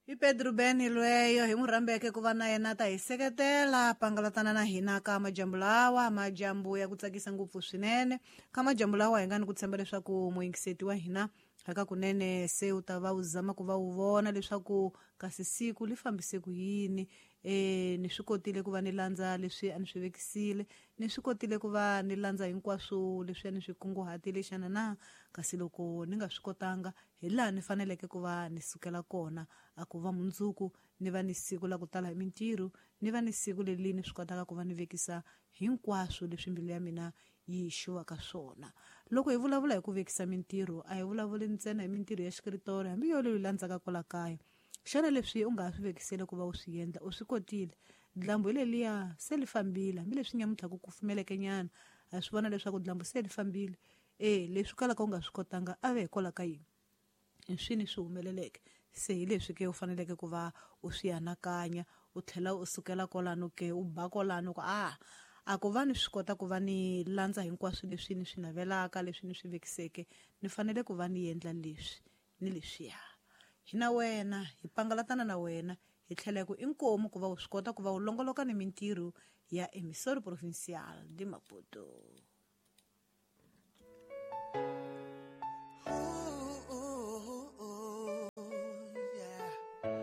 I Pedro Ben lweyo hi n'wi rhambeke ku va na yena ta hi seketela pangalatana na hina ka majambu lawa, majambu ya ku tsakisa ngopfu swinene. Ka majambu lawa hi nga ni ku tshemba leswaku muyingiseti wa hina aka kunene se u ta va u zama ku va u vona leswaku kasi siku li fambise ku yini. Ni swi kotile ku va ni landza leswi a ni swi vekisile, ni swi kotile ku va ni landza hinkwaswo leswi a ni swi kunguhatile xana na? Kasi loko ni nga swi kotanga, hi laha ni faneleke ku va ni sukela kona, a ku va mundzuku ni va ni siku la ku tala hi mintirho, ni va ni siku leri ni swi kotaka ku va ni vekisa hinkwaswo leswi mbilu ya mina yi xuvaka swona. Loko hi vulavula hi ku vekisa mintirho, a hi vulavuli ntsena hi mintirho ya xikritori, hambi yo leyi landzaka kwala kaya. Xana leswi u nga ha swi vekisele ku va u swi endla, u swi kotile? Dlambu hi leliya se li fambile, hambileswi nyamuntlha ku kufumeleke nyana, ha swi vona leswaku dlambu se li fambile. E leswi kalaka u nga swi kotanga a ve hikwalaho ka yini? Hi swini swi humeleleke? Se hi leswi ke u faneleke ku va u swi anakanya, u tlhela u sukela kwalano ke, u ba kwalano ku a ku va ni swi kota ku va ni landza hinkwaswo leswi ni swi navelaka, leswi ni swi vekiseke, ni fanele ku va ni endla leswi ni leswiya. Hi na wena, hi pangalatana na wena, hi tlhela hi ku inkomu ku va u swi kota ku va u longoloka ni mintirho ya Emissora Provincial de Maputo.